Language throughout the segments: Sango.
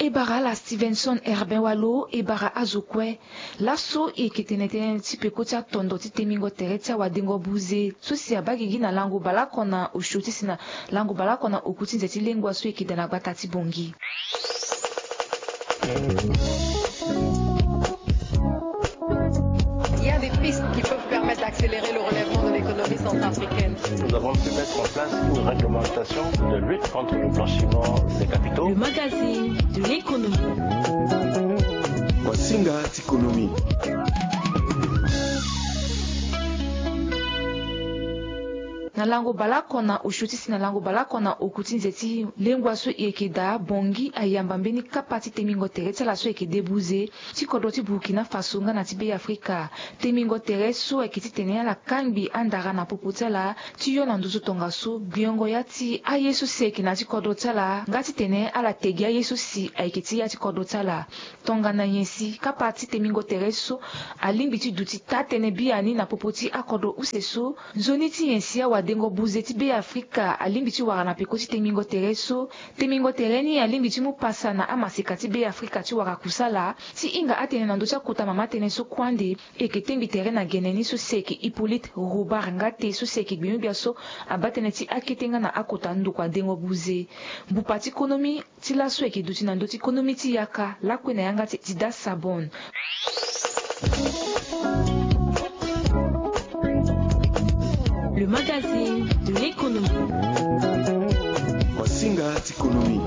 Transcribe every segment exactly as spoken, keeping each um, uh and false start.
E bara ala Stevenson Herbin Walo, e bara azo kue. Laso e yeke tene tënë ti peko ti atondo ti temingo tere ti awadengo buze so si abaa gigi na lango baleoko na osio ti si na lango baleoko na oku ti nze ti lengua so e yeke daa na gbata ti Bangui. Il y a des pistes qui peuvent permettre d'accélérer le relèvement de l'économie centrafricaine. Nous avons pu mettre en place une réglementation de lutte contre le blanchiment des capitaux. Le magazine de l'économie. Wasinga ti économie. Na lango baleoko na osio ti si na lango baleoko na oku ti nze ti lengua so e yeke daa, Bangui ayamba mbeni kapa ti temingo tere ti ala so e yeke debuze ti kodro ti Burkina Faso nga na ti Beafrika. Temingo tere so ayeke titene ala kangbi andara na popo ti ala ti yo na nduzu tongaso gbiongo ya ti aye so si ayeke na ya ti kodro ti ala nga titene ala te gi aye so si ayeke ti ya ti kodro ti ala. Tongana nyen si kapa ti temingo tere so alingbi ti duti taa-tënë biani na popo ti akodro use so, nzoni ti nyen si awadengo buze ti Beafrika alingbi ti wara na peko ti temingo tere so? Temingo tere ni alingbi ti mu pasa na amaseka ti Beafrika ti wara kusala. Ti hinga atene na ndö ti akota mama tënë so kue ande, e yeke tengbi tere na gene ni so si ayeke Hippolyte Robert Ngate so si ayeke gbingbia so abaa tënë ti akete nga na akota ndokua dengo buze. Mbupa ti konomi ti laso ayeke duti na ndö ti konomi ti yaka lakue na yanga ti Dida Sabon. Le magazine de l'économie. Wasinga ti économie.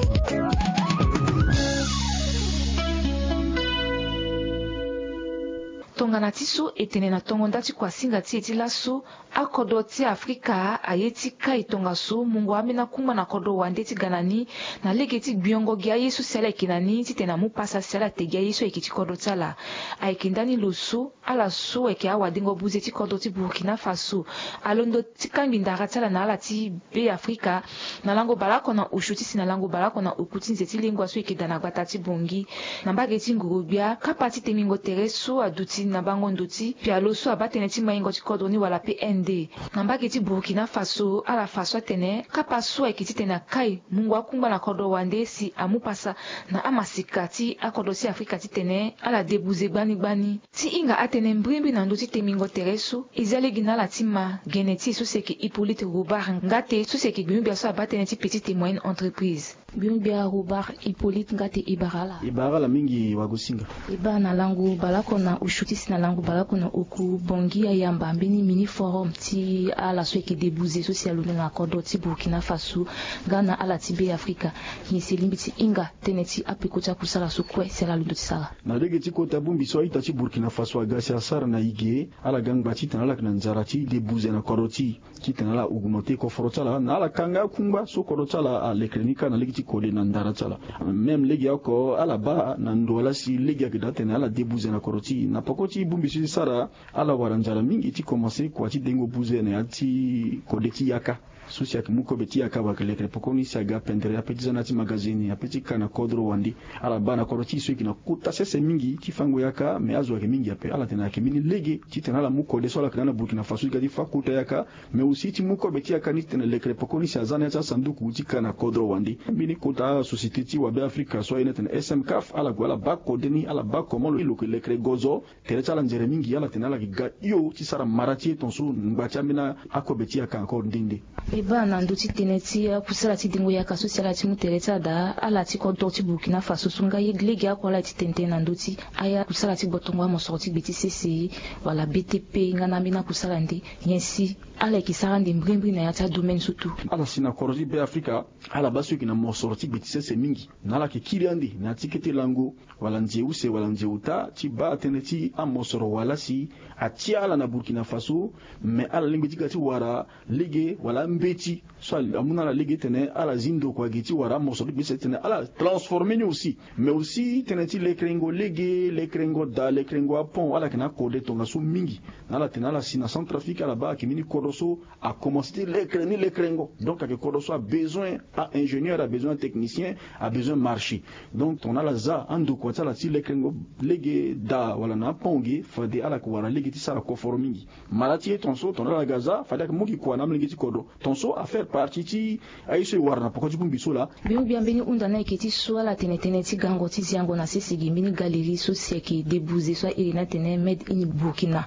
Tongana ti so e tene na tongo nda ti kuasinga ti e ti laso, akodro ti Afrika aye ti kai tongaso mungo ambeni akungba na kodro wande ti ga na ni, na lege ti gbiongo gi aye so si ala yeke na ni titene amu pasa si ala te gi aye so ayeke ti kodro ti ala. Ayeke ndani lo so ala so ayeke awadengo buze ti kodro ti Burkina Faso alondo ti kangbi ndara ti ala na ala ti Beafrika na lango baleoko na osio ti si na lango baleoko na oku ti nze ti lengua so ayeke daa na gbata ti Bangui. Na mbage ti nguru-gbia, kapa ti temingo tere so aduti na bango ndo ti pialo so abaa tënë ti maingo ti kodro ni wala P N D. Na mbage ti Burkina Faso, ala fa so atene kapa so ayeke titene akai mungo akungba na kodro wande si amu pasa na amaseka ti akodro ti Afrika titene ala debuze gbani gbani. Ti hinga atene mbrimbri na ndö ti temingo tere so, e zia lege na ala ti ma gene ti e so si ayeke Hippolyte Robert Ngate so si ayeke gbingbia so abaa tënë ti petite et moyenne entreprise. Gbingbia Robert Hippolyte Ngate, e bara ala. E bara ala mingi wagosinga. E bara na lango baleoko na osio ti si na lango baleoko na oku. Bangui ayamba mbeni mini forum ti ala so ayeke debuze so si alondo na kodro ti Burkina Faso nga na ala ti Beafrika. Nyen si e lingbi ti hinga tënë ti apeko ti akusala so kue si ala londo ti sara? Na lege ti kota bongbi so a-ita ti Burkina Faso aga si asara na e ge, ala ga ngba titene ala yeke na nzara ti debuze na kodro ti e, titene ala augmenter koforo ti ala na ala ka nga akungba so kodro ti ala alekere ni kâ na lege ti kode na ndara ti ala. Même legeoko ala baa na ndo wa laa si lege ayeke daa titene ala debuze na kodro ti e. Na peko ti bongbi so e sara, ala wara nzara mingi ti komanse kua ti dengo buze na ya ti kode ti yaka. So si ayeke mu kobe ti yaka, ayeke lekere pekoni si aga pendere ape ti za na ya ti magazini, ape ti ka na kodro wande. Ala baa na kodro ti e so e yeke na kota sese mingi ti fango yaka, me azo ayeke mingi ape. Ala tene ayeke mbeni lege titene ala mu kode so ala yeke na ya na Burkina Faso ti ga ti fâ kota yaka, me aussi ti mu kobe ti yaka ni titene lekere pekoni si aza na ya ti asanduku ti ka na kodro wande. Mbeni kota asociété ti wabe Afrika so aye ni atene S M CAF, ala gue ala baa kode ni, ala baa comment lo lo yeke lekere gozo. Tere ti ala nzere mingi, ala tene ala yeke ga hio ti sara mara ti e tongaso ngba ti ambeni akobe ti yaka encore nde nde. E baa na ndö ti tënë ti akusala ti dengo yaka so si ala ti mu tere ti ala daa, ala ti kodro ti Burkina Faso so nga ye lege oko ala ye ti tene tënë na ndö ti aye akusala ti gbotongo amosoro ti gbe ti sese wala B T P nga na ambeni akusala nde, nyen si ala yeke sara ande mbrimbri na ya ti adomaine so tu? Ala si na kodro ti Beafrika, ala baa so e yeke na mosoro ti gbe ti sese mingi, na ala yeke kiri ande na ya ti kete lango wala nze use wala nze ota ti baa tënë ti amosoro wala si atia ala na Burkina Faso. Me ala lingbi ti ga ti wara lege wala ambeti so amu na ala lege titene ala zi ndokua ge ti wara amosoro ti gbe ti sese titene ala transformer ni aussi. Mais aussi tënë ti lekerengo lege, lekerengo daa, lekerengo apont, ala yeke na akode tongaso mingi. Na ala tene ala si na Centrafrique, ala baa ayeke mbeni kodro so akomanse ti lekere ni lekerengo. Donc ayeke kodro so abezoin a-ingénieur, abezoin Un technicien a besoin marché. Donc tongana ala za andokua ti ala ti lekerengo lege daa wala na apon ge, fade ala yeke wara lege ti sara koforo mingi. Mara ti ye tongaso tongana ala ga za fade ayeke mu gi kua na amolenge ti kodro. Tongaso afaire partie ti aye so e wara na poko ti bongbi so laa. Biongbia mbeni hunda ni ayeke ti so ala tene tënë ti gango ti ziango na sese gi mbeni galerie so si ayeke debuze so airi ni atene made in Burkina.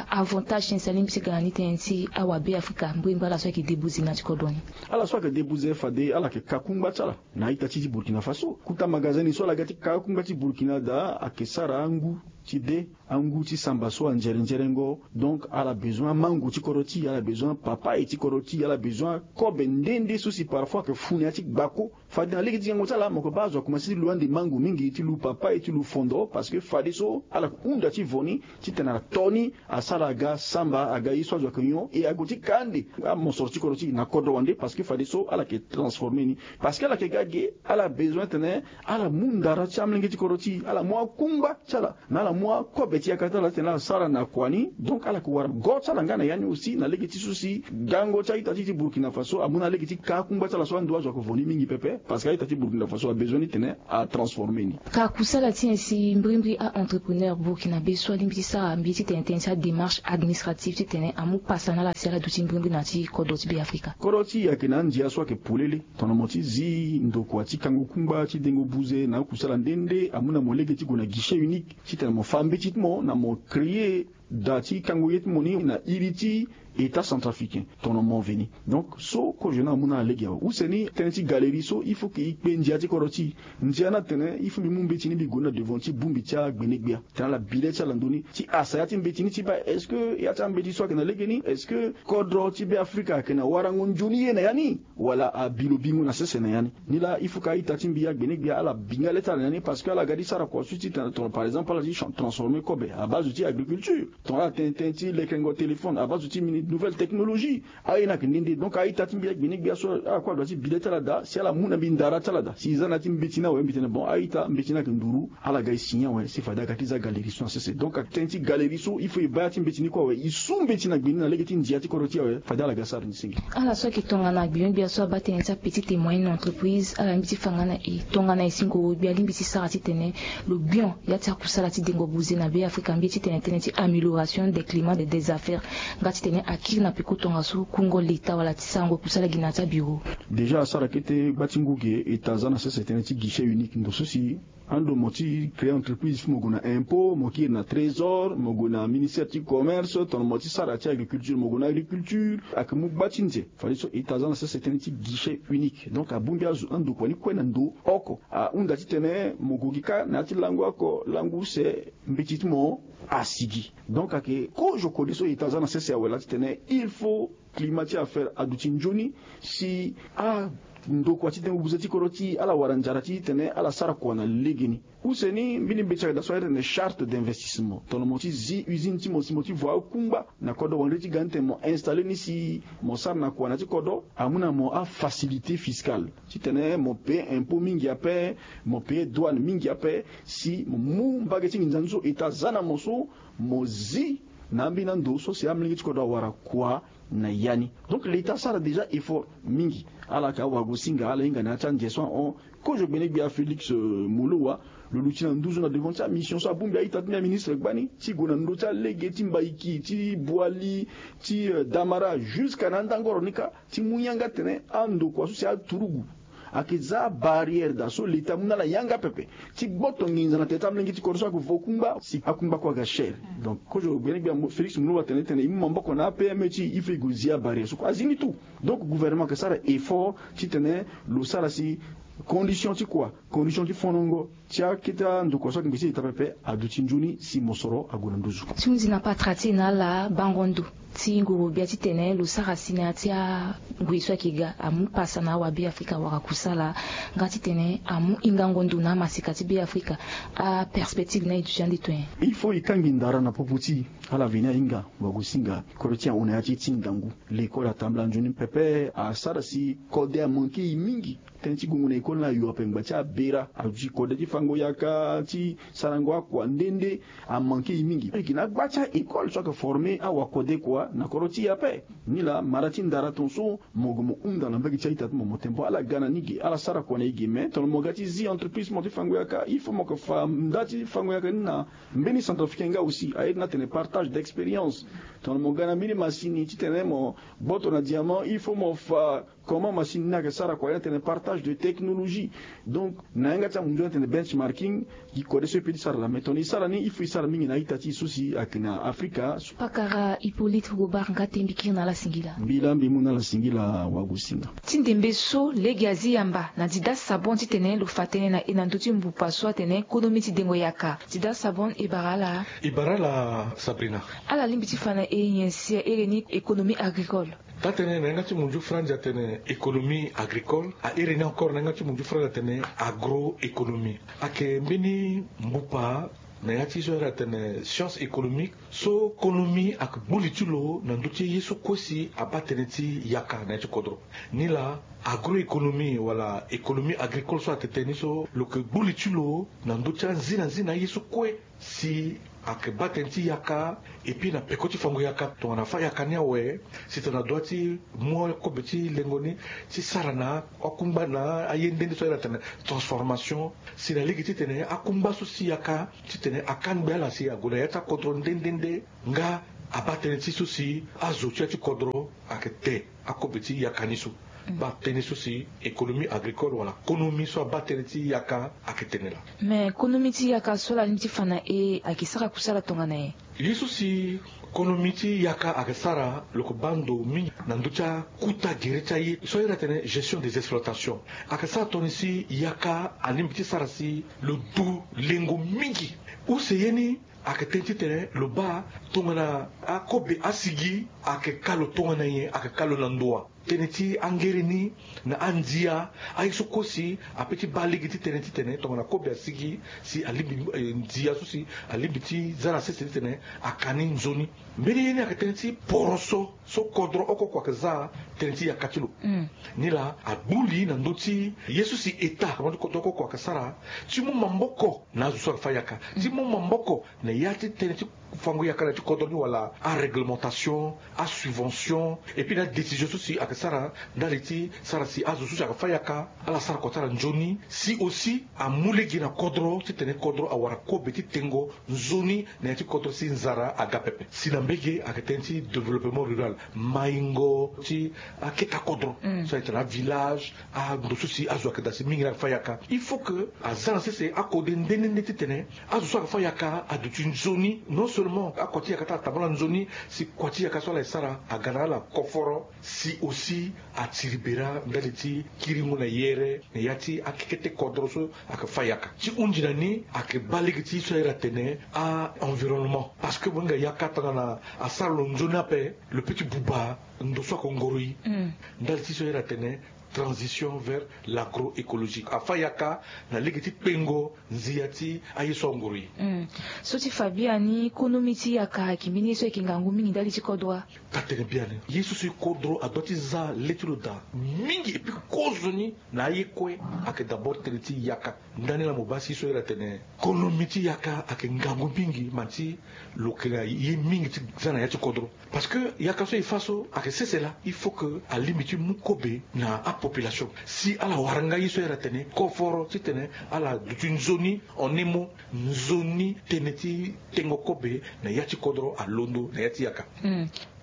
Avantage ti nyen si alingbi ti ga na ni tënë ti awabe afrika mbrimbri ala so ayeke debuze na ya ti kodro ni? Ala so ayeke debuze fade ala yeke ka kungba ti ala na a-ita ti ti Burkina Faso. Kuta magasin ni so ala ga ti ka akungba ti Burkina daa ayeke sara angu ti de, angu ti samba so anzere nzerengo. Donc ala bezoin amango ti kodro ti e, ala bezoin papaye ti kodro ti e, ala bezoin akobe nde nde so si parfois ayeke fu na ya ti gbako. Fade na lege ti gango ti ala mo yeke baa azo akomanse ti lu ande mango mingi, ti lu papaye, ti lu fondo, parce que fadeso ala yeke hunda ti vo ni titene ato ni asara aga samba aga ye so azo ayeke nyon e ague ti ka ande amosoro ti kodro ti e na kodro wande, parce que fadeso ala yeke transformer ni. Parce que ala yeke ga ge, ala bezoin tene ala mu ndara ti amolenge ti kodro ti e, ala mu akungba ti ala na ala mu akobe ti yaka ti ala titene ala sara na kua ni. Donc ala yeke wara go ti ala nga na ya ni aussi na lege ti so si gango ti a-ita ti ti Burkina Faso amu na lege ti ka akungba ti ala so ando azo ayeke vo ni mingi pepe, parce que a-ita ti Burkina Faso abezoin ni tene atransformer ni. Ka kusala ti nyen si mbrimbri a-entrepreneur burkinabé so alingbi ti sara mbi titene tënë ti adémarche administrative titene amu pasa na ala si ala duti mbrimbri na ya ti kodro ti Beafrika? Kodro ti e ayeke na andia so ayeke polele. Tongana mo ti zi ndokua ti kango kungba ti dengo buze na akusala nde nde amu na mo lege ti gue na guichet unique titene mo fa mbeti ti mo na mo créer daa ti kango ye ti mo ni na iri ti État centrafricain. Tongana mo veni donc so kozo ni amu na ala lege awe. Use ni tënë ti galerie so il faut que e kpe ndia ti kodro ti e. Ndia ni atene il faut mbi mu mbeti ni mbi gue ni na devant ti bongbi ti agbenegbia titene ala bi le ti ala ndoni ti asa ya ti mbeti ni ti baa est-ce que ya ti ambeti so ayeke na legeni, est-ce que kodro ti Beafrika ayeke na warango nzoni ye na ya ni wala abi lo bingo na sese na ya ni. Nilaa il faut que a-ita ti mbi agbenegbia ala bi nga le ti ala na ya ni, parce que ala ga ti sara kua so ti tene tongana par exemple ala ti transformer kobe abaa zo ti agriculture. Tongana ala tene tënë ti lekerengo téléphone abaa zo ti mini nouvelle technologie. Aye ni ayeke nde nde. Donc a-ita ti mbi agbenegbia so ala kue adua ti bi le ti ala daa si ala mu na mbi ndara ti ala daa si e za na ya ti mbeti ni awe mbi tene bon a-ita mbeti ni ayeke nduru. Ala ga e signer awe si fade aga ti za galerie so na sese. Donc atene ti galerie so il faut e baa ya ti mbeti ni kue awe, e su mbeti na gbe ni na lege ti ndia ti kodro ti e awe. Fade ala ga sara ni senge. Ala so ayeke tongana gbigbia so abaa tënë ti apetite et moyenne entreprise ala lingbi ti fa nga na e tongana e si ngoro gbe alingbi ti sara titene lo bion ya ti akusala ti dengo buze na Beafrika mbi titene tënë ti amélioration des climats des affaires nga titene akiri na peko tongaso kungo leta wala ti sarango kusala gi na ya ti abiro. Déjà asara kete gba ti ngu ge eta aza na sese tënë ti guichet unique ndo so si ando mo ti créer entreprise il faut mo gue na impôt, mo kiri na trésor, mo gue na ministère ti commerce. Tongana mo ti sara ti agriculture mo gue na agriculture. Ayeke mu gba ti nze. Fadeso eta aza na sese tënë ti guichet unique. Donc abongbi azo andokua ni kue na ndo oko ahunda titene mo gue gi kâ na ya ti lango oko lango use mbeti ti mo asigi. Donc ayeke kozo kode so eta aza na sese awe laa titene il faut climat ti affaire aduti nzoni si andokua ti dengo buze ti kodro ti ala wara nzara titene ala sara kua na legeni. Use ni mbeni mbeti ayeke daa so ayeke tene charte d'investissement. Tongana mo ti zi usine ti mo si mo ti vo akungba na kodro wande ti ga ni tene mo installer ni si mo sara na kua na ya ti kodro amu na mo afacilité fiscale titene mo payer impôt mingi ape, mo payer douane mingi ape. Si mo mu mbage ti nginza ni so eta aza na mo so mo zi na ambeni ando so si amolenge ti kodro awara kua na ya ni. Donc leta asara déjà effort mingi. Ala yeke awagosinga ala hinga na ya ti anze so ahon. Kozo gbene gbia Félix Molowa lo luti na nduzu na devant ti amission so abongbi a-ita ti mbi aministre gbani ti gue na ndö ti alege ti mbaiki ti boili ti damara jusqu'à na andangoro ni kâ ti mu yanga tene andokua so si aturugu ayeke za abarrière daa so leta amu na ala yanga pepe ti gboto nginza na tere ti amolenge ti kodro so ayeke vo kungba si akungba kue aga cher. Donc kozo gbene gbia Félix Molowa atene tene e mu maboko na apme ti e il faut e gue zi abarrière so kue azi ni tout. Donc gouvernement ayeke sara effort titene lo sara si condition ti kua condition ti fonongo ti akete andokua so ayeke ngbeti leta pepe aduti nzoni si mosoro ague na nduzu. Ti hunzi na patara ti e na ala bango ndo ti nguru gbia titene lo sara si na ya ti angui so ayeke ga amu pasa na awabe afrika wara kusala nga titene amu hingango ndo na amaseka ti be afrika. Aperspective na e duti ande to nyen? Il faut e kangbi ndara na popo ti e. Ala veni ahinga wagosinga kodro ti e ahon na ya ti e ti ngangu. Lekole atambula nzoni pepe asara si kode amanke e mingi. Tënë ti gongo na Koli na yo ape ngba ti abera aduti kode ti fango yaka ti sarango akua nde nde amanke e mingi. Eke na agba ti a-école so ayeke former awakode kua na kodro ti e ape. Nilaa mara ti ndara ton so mo gue mo hunda na mbage ti a-ita ti mo mo tembo ala ga na ni ge ala sara kua na e ge mais tongana mo ga ti zi entreprise mo ti fango yaka il faut mo yeke fa nda ti fango yaka ni na mbeni centrafricain nga aussi aye ti ni atene partage d'expérience. Tongana mo ga na mbeni masini titene mo gboto na diamant il faut mo fa comment masini ni ayeke sara kua ye na tene partage de technologie. Donc na yanga ti amundu ni atene benchmarking gi kode so e pe ti sara laa mais tongana e sara ni il faut e sara mingi na a-ita ti e so si ayeke na afrika. Pakara hippolyte gobar nga tembi kiri na ala singila. Mbi laa mbi mu na ala singila wagosinga. Ti ndembe so lege azi yamba na dida sabon titene lo fa tënë na e na ndö ti mbupa so atene konomi ti dengo yaka. Dida sabon e bara ala. E bara ala sabrina. Ala lingbi ti fa na e nyen si a iri ni économie agricole? Taa-tënë na yanga ti munzu franzi atene économie agricole a iri ni encore na yanga ti munzu franzi atene agroéconomie. Ayeke mbeni mbupa na ya ti so a iri atene science économique so konomi ayeke gbu li ti lo na ndö ti ye so kue si abaa tënë ti yaka na ya ti kodro. Nilaa agroéconomie wala économie agricole so atene tënë ni so lo yeke gbu li ti lo na ndö ti anzi na nzi na aye so kue si ayeke baa tënë ti yaka. Epui na peko ti fango yaka tongana afâ yaka ni awe si tongana adua ti mu akobe ti lengo ni ti sara na akungba na aye nde nde so ayeke na tene transformation si na lege titene akungba so si yaka titene akangbi ala si ague na ya ti akodro nde nde nde nga abaa tënë ti so si azo ti ya ti kodro ayeke te. Akobe ti yaka ni so baa tënë so si économie agricole wala konomi so abaa tënë ti yaka ayeke tene laa. Mais konomi ti yaka so ala lingbi ti fa na e ayeke sara kusala tongana nyen? Ye so si konomi ti yaka ayeke sara lo yeke baa ndo mingi na ndö ti akuta gere ti aye so a iri atene gestion des exploitations. Ayeke sara tongana si yaka alingbi ti sara si lo du lengo mingi. Use ye ni ayeke tënë titene lo baa tongana akobe asigi ayeke ka lo tongana nyen ayeke ka lo na ndo wa? Tënë ti angere ni na andia aye so kue si ape ti baa lege ti tënë titene tongana kobe asigi si alingbi ndia so si alingbi ti za na sese titene aka ni nzoni. Mbeni ye ni ayeke tënë ti poroso so kodro oko oko ayeke za tënë ti yaka ti lo. Nilaa agbu li na ndö ti ye so si état ti kodro oko oko ayeke sara ti mu maboko na azo so ayeke fâ yaka ti mu maboko na ya ti tënë ti fango yaka na ya ti kodro ni wala aréglementation, asubvention epui na adécision so si ayeke sara ndali ti sara si azo so si ayeke fâ yaka ala sara kua ti ala nzoni si aussi amu lege na kodro titene kodro awara kobe ti tengo nzoni na ya ti kodro si nzara aga pepe. Si na mbege ayeke tënë ti développement rural, maingo ti aketa kodro so ayeke tene avillage, ando so si azo ayeke daa si mingi ni ayeke fâ yaka il faut que aza na sese akode nde nde nde titene azo so ayeke fâ yaka aduti nzoni. Non seulement akua ti yaka ti ala tambula nzoni si kua ti yaka so ala ye sara aga na ala koforo si aussi atiri bera ndali ti kiringo na yere na ya ti akekete kodro so ayeke fâ yaka. Ti hunzi na ni ayeke baa lege ti so a iri atene a-environnement parce que mo hinga yaka tongana asara lo nzoni ape lo pe ti buba ndo so ayeke ngoro e. Ndali ti so a iri atene transition vers l'agroécologique afâ yaka na lege ti kpengo nzia ti aye so angoro e. So ti fa biani konomi ti yaka ayeke mbeni ye so ayeke ngangu mingi ndali ti kodro wa? Taa-tënë biani ye so si kodro adua ti za le ti lo daa mingi epui kozoni na aye kue ayeke d'abord tënë ti yaka. Ndani laa mo baa si so a iri atene konomi ti yaka ayeke ngangu mingi ma ti lo yeke na ye mingi ti za na ya ti kodro. Parce que yaka so e fâ so ayeke sese laa il faut que alingbi ti mu kobe na apopulation si ala wara nga ye so a iri atene koforo titene ala duti nzoni en un mot nzoni tënë ti tengo kobe na ya ti kodro alondo na ya ti yaka.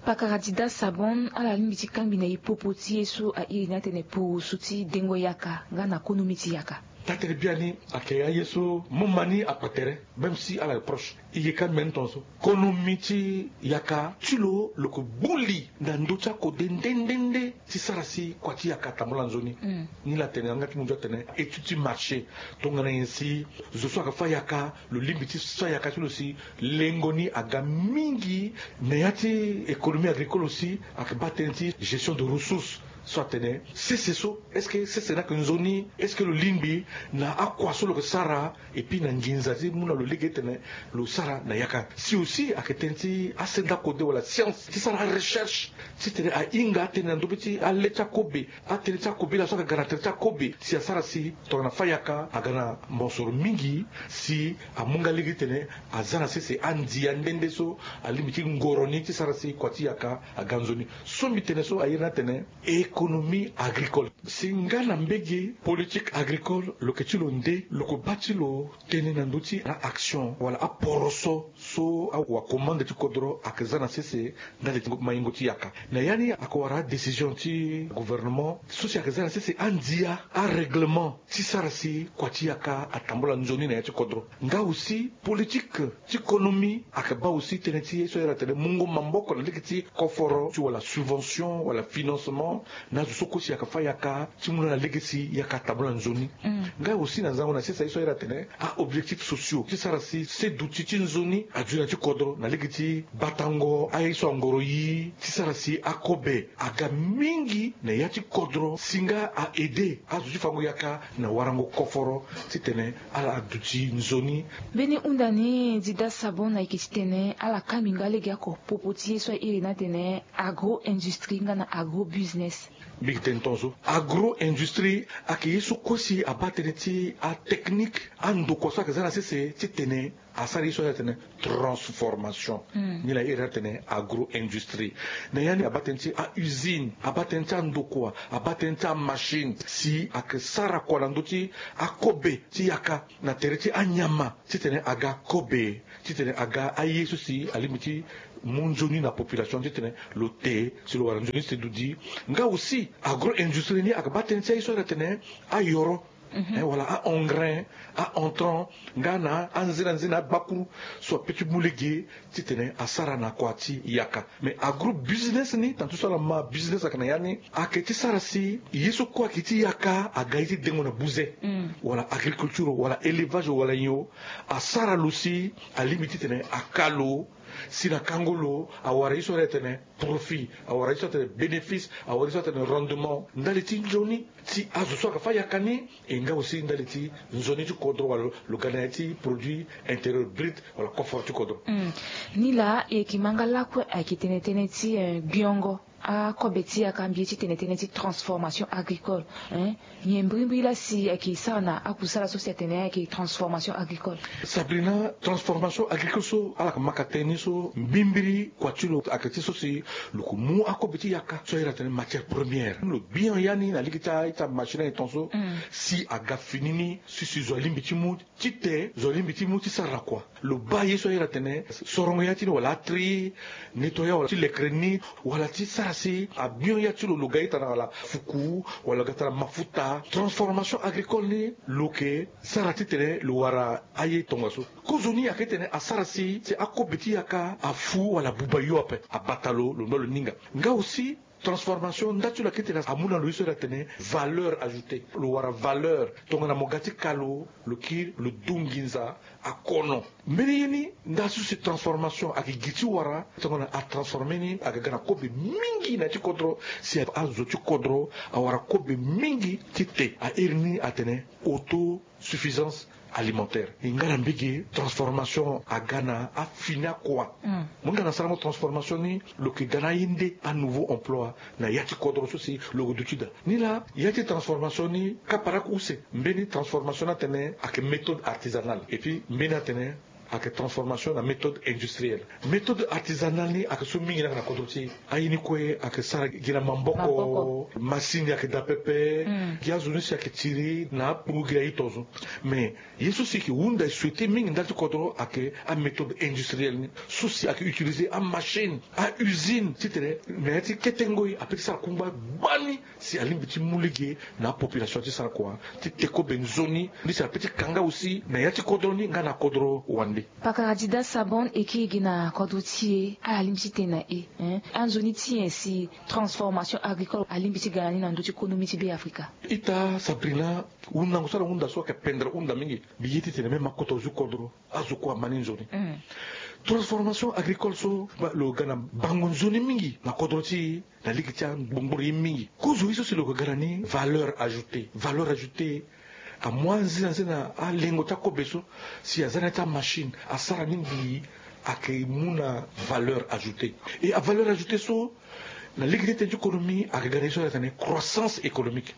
Pakara dida sabon ala lingbi ti kangbi na e popo ti ye so a iri ni atene purusu ti dengo yaka nga na konomi ti yaka? Taa-tënë biani ayeke aye so mo ma ni akpa tere même si ala reproche. E yeke ameni tongaso konomi ti yaka ti lo lo yeke gbu li na ndö ti akode nde nde nde ti sara si kua ti yaka atambula nzoni. Ni laa atene yanga ti munzu atene étude ti marché tongana nyen si zo so ayeke fâ yaka lo lingbi ti fâ yaka ti lo si lengo ni aga mingi na ya ti économie agricole aussi ayeke baa tënë ti gestion de ressources. So atene sese so, est-ce que sese ni ayeke nzoni? Est-ce que lo lingbi na akua so lo yeke sara? Et puis na nginza ti mu na lo lege titene lo sara na yaka. Si aussi ayeke tënë ti asenda kode wala science ti sara arecherche titene ahinga atënë na ndö be ti ale ti akobe, atënë ti akobe laa so ayeke ga na tere ti akobe si asara si tongana fâ yaka aga na mosoro mingi, si amu nga lege titene aza na sese andia nde nde so alingbi ti ngoro ni ti sara si kua ti yaka aga nzoni. So mbi tene so airi ni atene économie agricole. Si nga na mbege politique agricole lo yeke ti lo nde, lo yeke baa ti lo tënë na ndö ti na action wala aporoso so awakomande ti kodro ayeke za na sese ndali ti maingo ti yaka. Na ya ni ayeke wara adécision ti gouvernement so si ayeke za na sese andia arèglement ti sara si kua ti yaka atambula nzoni na ya ti kodro. Nga aussi politique ti konomi ayeke baa aussi tënë ti ye so ahiri atene mungo maboko na lege ti koforo ti wala subvention wala financement na azo so kue si ayeke fâ yaka ti mu na ala lege si yaka atambula nzoni. Nga aussi na zango na sese ye so ahiri atene aobjectifs sociaux ti sara si seduti ti nzoni aduti na ya ti kodro na lege ti batango aye so angoro yi ti sara si akobe aga mingi na ya ti kodro si nga a-aider azo ti fango yaka na warango koforo titene ala duti nzoni. Mbeni hunda ni Dida Sabon ayeke titene ala kangbi nga lege oko popo ti ye so airi ni atene agro-industrie nga na agro-business. Mbi yeke tene tongaso agro-industrie ayeke ye so kue si abaa tënë ti atechnique andokua so ayeke za na sese titene asara ye so ahiri atene transformation. Ni laa ahiri atene agro-industrie. Na ya ni abaa tënë ti a-usine, abaa tënë ti andokua, abaa tënë ti amachine si ayeke sara kua na ndö ti akobe ti yaka na tere ti anyama titene aga kobe titene aga aye so si alingbi ti mu nzoni na population titene lo te si lo wara nzoni seduti. Nga aussi agro-industrie ni ayeke baa tënë ti aye so ahiri atene ayoro, eh, wala a-engrais, a-entrant nga na anzenanzena abakuru so ape ti mu lege titene asara na kua ti yaka. Mais agro-business ni tana ti so ala ma business ayeke na ya ni ayeke ti sara si ye so kue ayeke ti yaka aga ye ti dengo na buze, wala agriculture wala élevage wala nyon, asara lo si alingbi titene aka lo si na kango lo awara ye so ahiri atene profit, awara ye so atene bénéfice, awara ye so atene rendement ndali ti nzoni ti azo so ayeke fâ yaka ni. E nga aussi ndali ti nzoni ti kodro wala lo ga na ya ti produit intérieur brut wala koforo ti kodro. Ni laa e yeke ma nga lakue ayeke tene tënë ti, eh, gbiongo akobe ti yaka mbi ye ti tene tënë ti transformation agricole, eh, nyen mbirimbiri laa si ayeke sara na akusala so si atene ayeke transformation agricole? Sabrina, transformation agricole so ala yeke maka tënë ni so mbimbiri kua ti lo ayeke ti so si lo yeke mu akobe ti yaka so ahiri atene matière première. Lo gbion ya ni na lege ti a-ita machine aye tongaso si aga fini ni si si zo alingbi ti mu ti te, zo alingbi ti mu ti sara na kua. Lo baa ye so ahiri atene sorongo ya ti ni wala atri, nettoyer wala ti lekere ni, wala ti sara si agbion ya ti lo lo ga ita na wala fuku wala lo ga ita na mafuta. Transformation agricole ni lo yeke sara titene lo wara aye tongaso. Kozoni ayeke titene asara si si akobe ti yaka afu wala abuba yo ape, abata lo, lo nda lo ninga. Nga aussi transformation nda ti lo ayeke titene amu na lo ye so ahiri atene valeur ajoutée. Lo wara valeur tongana mo ga ti ka lo, lo kiri lo du nginza akono. Mbeni ye ni nda so si transformation ayeke gi ti wara tongana atransformer ni aga ga na kobe mingi na ya ti kodro si azo ti kodro awara kobe mingi ti te. Ahiri ni atene autosuffisance alimentaire. E nga na mbege transformation aga na afini akua. Mo hinga na sarango transformation ni lo yeke ga na aye nde anouveau emploi na ya ti kodro so si lo yeke duti daa. Ni laa ya ti transformation ni kapa lako use. Mbeni transformation ni atene ayeke méthode artisanale et puis mbeni atene ayeke transformation na méthode industrielle. Méthode artisanale ni ayeke so mingi ni ayeke na kodro ti e. Aye ni kue ayeke sara gi na maboko. Maboko. Masini ayeke daa pepe. Gi azo ni si ayeke tiri na apuru gi na ito zo. Mais ye so si yeke hunda e souhaiter mingi ndali ti kodro ayeke améthode industrielle ni so si ayeke utiliser amachine, a-usine titene na ya ti kete ngoi ape ti sara kungba gbani si alingbi ti mu lege na apopulation ti sara kua ti te kobe nzoni. Ni si ape ti ka nga aussi na ya ti kodro ni nga na kodro wande. Pakara Dida Sabon, e kiri gi na kodro ti e, ala lingbi ti tene na e, hein, anzoni ti nyen si transformation agricole alingbi ti ga na ni na ndö ti konomi ti Be Afrika? Ita Sabrina, hundango so ala hunda so ayeke pendere hunda mingi. Mbi ye ti tene même akota ozu kodro azo kue ama ni nzoni. Transformation agricole so, ba- lo ga na bango nzoni mingi na kodro ti e, na lege ti angbongboro ye mingi. Kozo ye so si lo yeke ga na ni valeur ajoutée. Valeur ajoutée amu anzenanzena alengo ti akobe so, si aza na ya ti amachine asara ni mbi, ayeke mu na valeur ajoutée. E avaleur ajoutée so, na lege ti tene ti économie ayeke ga na ye so ala tene croissance économique.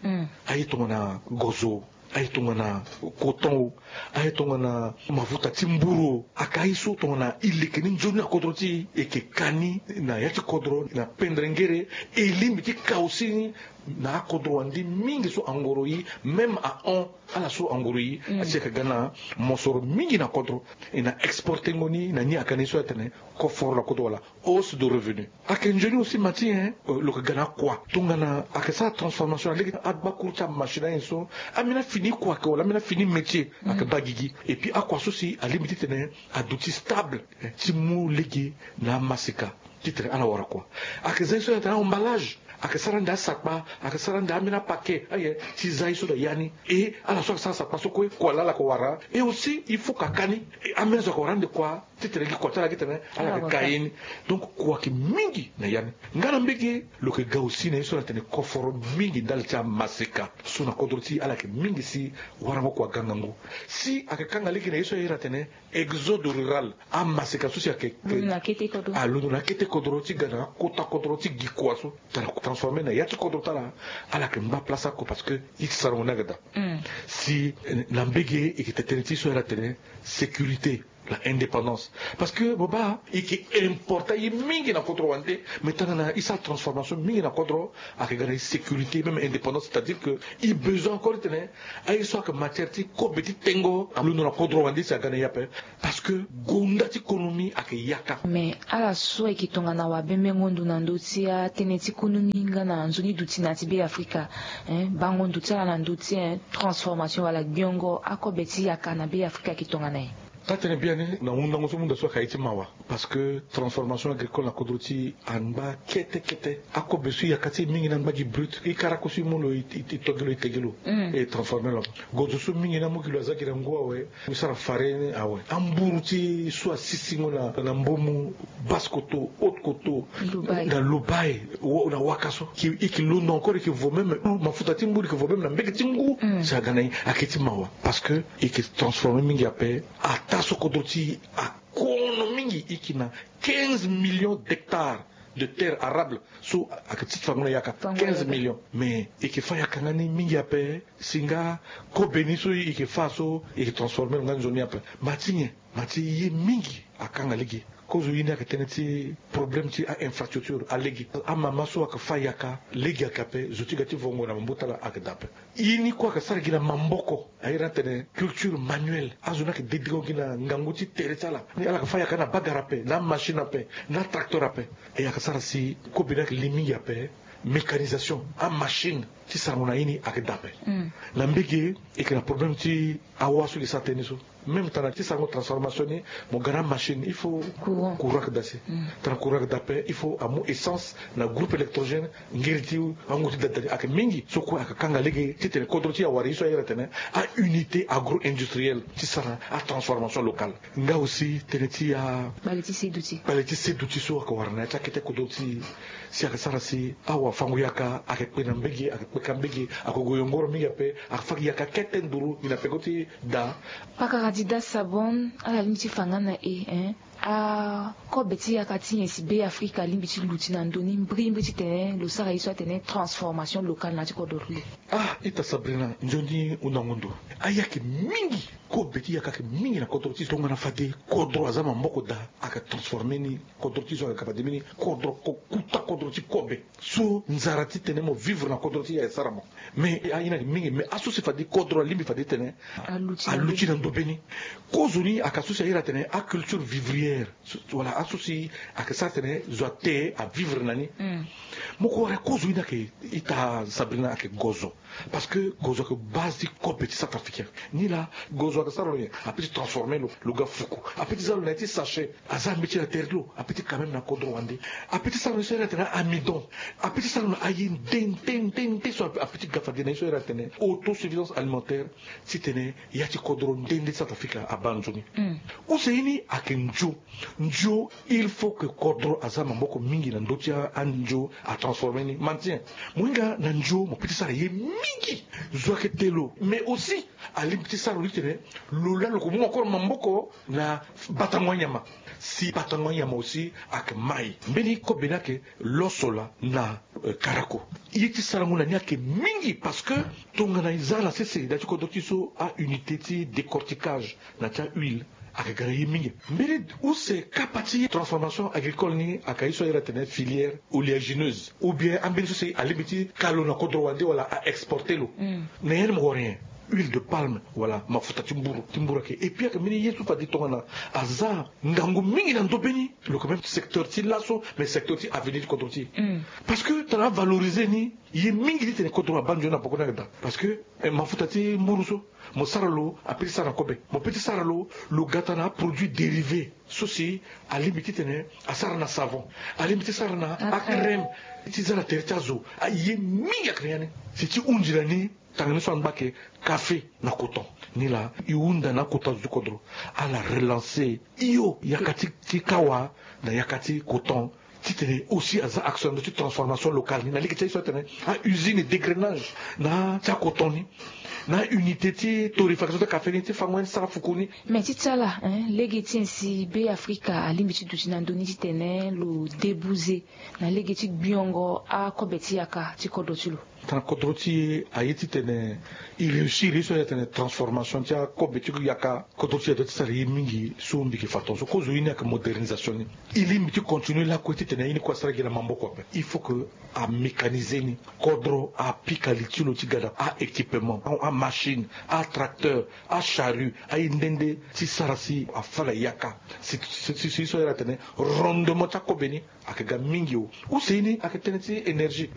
Aye tongana gozo, aye tongana coton o, aye tongana mafuta ti mburu o, ayeke aye so tongana e leke ni nzoni na kodro ti e, e yeke ka ni na ya ti kodro na pendere ngere. E lingbi ti ka aussi ni na akodro wande mingi so angoro e, même ahon ala so angoro e, asi ayeke ga na mosoro mingi na kodro. E na exportengo ni na ni ayeke na ye so atene koforo na kodro wala hausse de revenu. Ayeke nzoni aussi mati, hein, euh, lo yeke ga na akua tongana ayeke sara transformation na lege ti agbakuru ti amachine ayen so, ambeni afini kua ayeke wala ambeni afini métier ayeke baa gigi. Et puis akua so si alingbi ti tene aduti stable, eh, ti mu lege na amaseka ti tene ala wara kua. Ayeke za ye so atene emballage, ayeke sara ande asakpa, ayeke sara ande ambeni apaquet aye ti za ye so na ya ni. E ala so ayeke sara sakpa so kue kua laa ala yeke wara. Et aussi il faut ka ka ni, e ambeni azo ayeke wara ande kua ti tene gi kua ti ala gi tene ala yeke ka ye ni. Donc kua ayeke mingi na ya ni. Nga na mbege lo yeke ga aussi na ye so na tene koforo mingi ndali ti amaseka so na kodro ti ala yeke mingi si warango kua aga ngangu. Si ayeke kanga lege na ye so aye na tene exode rural, amaseka so si ayeke londo na kete kodro, ah, londo na kete kodro ti ga na akota kodro ti gi kua so, tara transformer na ya ti kodro ti ala. Ala yeke ngba place oko parce que ye ti sarango ni ayeke daa. Si, eh, na mbege e yeke tene tënë ti so aye na tene sécurité, la indépendance. Parce que mo baa e yeke importa ye mingi na kodro wande, mais tongana e sara transformation mingi na kodro, ayeke ga na e sécurité, même indépendance, c'est-à-dire que e besoin encore ti tene aye so ayeke matière ti kobe ti tengo alondo na kodro wande si aga na e ape. Parce que gonda ti konomi ayeke yaka. Mais ala so ayeke tongana wabembengo ndo na ndö ti atënë ti konomi nga na nzoni duti na ya ti Be Afrika, hein, bango ndo ti ala na ndö ti, hein, transformation wala gbiongo akobe ti yaka na Be Afrika ayeke tongana nyen? Taa tene biani na hundango so mu daa so ayeke aye ti mawa. Parce que transformation agricole na kodro ti e angba kete kete. Akobe so e yaka ti e mingi ni angba gi brut. E karako so e mu lo, e, e, e to gi lo, e te gi lo, e transformer lo. Gozo so mingi ni amu gi lo aza gi na ngu awe, e sara farine awe. Amburu ti e so asisingo na, na mbomu, basse coteau, haute coteau, na lobaye, na waka so, e yeke londo encore, e yeke vo même mafuta ti mburu, e yeke vo même na mbege ti ngu. Si aga na e, ayeke ti mawa. Parce que e yeke transformer mingi ape. Ataa so kodro ti e akono mingi, e yeke na quinze millions d'hectares de terre arable so ayeke ti fango na yaka. Quinze millions. Mais e yeke fâ yaka nga ni mingi ape. Si nga kobe ni so e yeke fâ so e yeke transformer lo nga nzoni ape. Ma ti nyen? Ma ti ye mingi akanga lege. Kozo ye ni ayeke tënë ti problème ti a-infrastructure, alege. Amama so ayeke fâ yaka, lege ayeke ape, zo ti ga ti vongo na mabota ala ayeke daa ape. Ye ni kue ayeke sara gi na maboko. Aye na tene culture manuelle. Azo ni ayeke dedengo gi na ngangu ti tere ti ala. Ni ala yeke fâ yaka na bagara ape, na amachine ape, na atracteur ape. E ayeke sara si kobe ni ayeke li mingi ape. Mécanisation, amachine ti sarango na ye ni ayeke daa ape. Na mbege e yeke na problème ti awa so e yeke sara tënë ni so. Même tana ti sarango transformation ni, mo ga na amachine, il faut courant. Courant ayeke daa si. Tana courant ayeke daa ape, il faut amu essence na groupe électrogène. Ngeri ti angu ti da da ni ayeke mingi. So kue ayeke kanga lege ti tene kodro ti e awara ye so aye na tene a-unité agro-industrielle ti sara atransformation locale. Nga aussi tënë ti a, kpale ti seduti, kpale ti seduti so ayeke wara na ya ti akete kodro ti e. Si ayeke sara si awafango-yaka ayeke kpe na mbege, ayeke kpe ka mbege, ayeke gue yongoro mingi ape, ayeke fâ gi yaka kete nduru gi na peko ti da. Pakara Dida Sabon, ala lingbi ti fa nga na e, hein? Akobe ti yaka ti nyen si Be Afrika alingbi ti luti na ndö ni mbrimbri titene lo sara ye so atene transformation locale na ya ti kodro ti lo? Ah, ita Sabrina, nzoni hundango ndo. Ayeke mingi. Kobe ti yaka ayeke mingi na kodro ti e. Tongana fade kodro aza maboko daa, ayeke transformer ni. Kodro ti e so ayeke ga fade mbeni kodro ko-, kota kodro ti kobe. So nzara titene mo vivre na kodro ti e ayeke sara mo. Mais aye ni ayeke mingi, mais aso si fade kodro alingbi fade titene aluti na ndobe ni. Kozoni ayeke aso si aye na tene aculture vivrière. Wala aso si ayeke sara tene zo ate avivre na ni. Moko wara kozo ni ayeke ita sabrina ayeke gozo. Parce que gozo ayeke base ti kobe ti centrafricain. Ni laa gozo ayeke sara lo nyen? Ape ti transformer lo lo ga fuku. Ape ti za lo na ye ti sachet. Aza ambeti na tere ti lo ape ti quand même na kodro wande. Ape ti sara lo ni so ayeke na amidon. Ape ti sara lo na aye nde nde nde nde so ape ti ga fade na ye so ayeke na tene autosuffisance alimentaire. Titene ya ti kodro nde nde ti centrafrique abaa nzoni. Use ye ni ayeke ndio. Ndio il faut que kodro aza maboko mingi na ndö ti andio atransformer ni maintien. Mo hinga na ndio mo pe ti sara ye mingi. Zo ayeke te lo mais aussi alingbi ti sara lo ti tene lo laa lo ko mu encore maboko na batango anyama. Si batango anyama aussi ayeke mai mbeni kobe ni ayeke loso laa na karako. Ye ti sarango na ni ayeke mingi parce que tongana e za na sese na ya ti kodro ti e so aunité ti décortiquage na ti ahuile ayeke ga na ye mingi. Mbeni use kapa ti transformation agricole ni ayeke ye so ayere atene filière oléagineuse ou bien ambeni so si alingbi ti ka lo na kodro wande wala a exporter lo. Na ya ni mo wara nyen? Huile de palme wala mafuta ti mburu ti mburu ayeke et puis ayeke mbeni ye so fade tongana aza ngangu mingi na ndobe ni. Lo yeke même secteur ti laso mais secteur ti avenir ti kodro ti e. Parce que tongana avaloriser ni ye mingi ti tene kodro abaa nzoni na poko ni ayeke daa. Parce que mafuta ti mburu so mo sara lo ape ti sara na kobe mo pe ti sara lo lo gata na aproduit dérivé so si alingbi ti tene asara na savon. Alingbi ti sara na acrème ti za na tere ti azo. Aye mingi ayeke na ya ni. Si ti hunzi na ni tanga ni so angba ayeke kafe na coton. Ni laa e hunda na akota zo ti kodro ala relancer hio yaka ti kawa na yaka ti coton. Titene aussi aza action na ndö ti transformation locale ni na lege ti aye so atene ausine dégrenage na ti akoton ni na aunité ti torréfaction ti akafe ni ti fango ni ti sara fuku ni. Mais ti ti ala lege ti nyen si be afrika alingbi ti duti na ndö ni titene lo débouser na lege ti gbiongo akobe ti yaka ti kodro ti lo? Tana kodro ti e aye titene e réussir ye so ayeke tene transformation ti akobe ti yaka kodro ti e adoit ti sara ye mingi so mbi yeke fa tongaso kozo ye ni ayeke modernisation ni. E lingbi ti continuer lakue titene ye ni kue asara gi na maboko ape il faut que amécaniser ni. Kodro apika li ti lo ti ga na a-équipement, amachine, atracteur, acharrue, aye nde nde ti sara si afa na yaka. Si si so ayere atene rendement ti akobe ni ayeke ga mingi o. Use ye ni ayeke tënë ti énergie.